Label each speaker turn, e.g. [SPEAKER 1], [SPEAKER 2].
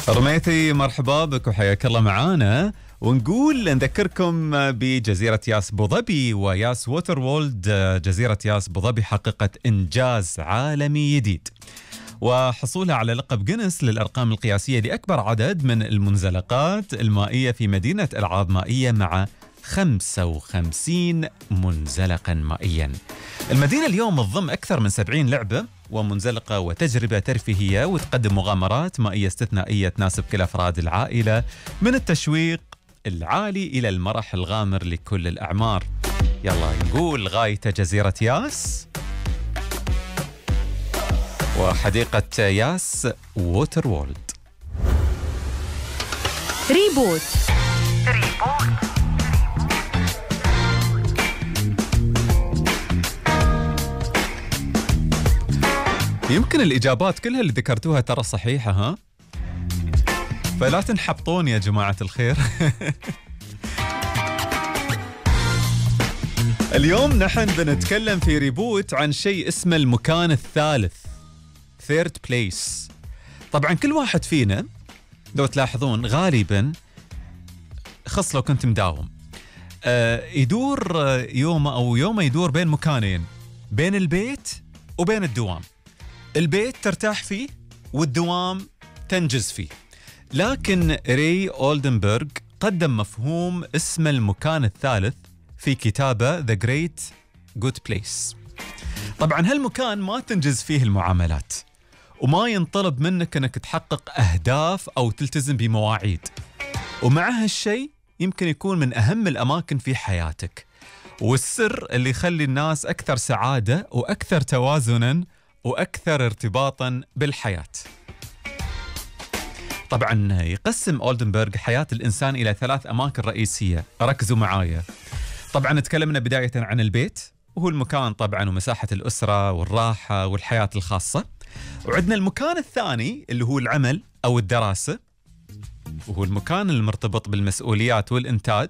[SPEAKER 1] رميثي مرحبا بك وحياك الله معانا، ونقول نذكركم بجزيرة ياس بوظبي وياس ووتر وولد. جزيرة ياس بوظبي حققت إنجاز عالمي جديد وحصولها على لقب جينيس للأرقام القياسية لأكبر عدد من المنزلقات المائية في مدينة ألعاب مائية مع 55 منزلقا مائيا. المدينة اليوم تضم أكثر من 70 لعبة ومنزلقة وتجربة ترفيهية، وتقدم مغامرات مائية استثنائية تناسب كل أفراد العائلة، من التشويق العالي إلى المرح الغامر لكل الأعمار. يلا نقول غاية جزيرة ياس وحديقة ياس ووتر وولد.
[SPEAKER 2] ريبوت.
[SPEAKER 1] يمكن الإجابات كلها اللي ذكرتوها ترى صحيحة، ها؟ فلا تنحبطون يا جماعة الخير. اليوم نحن بنتكلم في ريبوت عن شيء اسمه المكان الثالث، third place. طبعا كل واحد فينا لو تلاحظون غالبا، خاصة لو كنت مداوم، يدور يومه يدور بين مكانين، بين البيت وبين الدوام. البيت ترتاح فيه والدوام تنجز فيه. لكن ري أولدنبرغ قدم مفهوم اسمه المكان الثالث في كتابه The Great Good Place. طبعا هالمكان ما تنجز فيه المعاملات، وما ينطلب منك أنك تحقق أهداف أو تلتزم بمواعيد، ومع هالشيء يمكن يكون من أهم الأماكن في حياتك، والسر اللي يخلي الناس أكثر سعادة وأكثر توازناً وأكثر ارتباطاً بالحياة. طبعاً يقسم أولدنبرغ حياة الإنسان إلى 3 أماكن رئيسية، ركزوا معايا. طبعاً تكلمنا بداية عن البيت، وهو المكان طبعاً ومساحة الأسرة والراحة والحياة الخاصة. وعندنا المكان الثاني اللي هو العمل أو الدراسة، وهو المكان المرتبط بالمسؤوليات والإنتاج.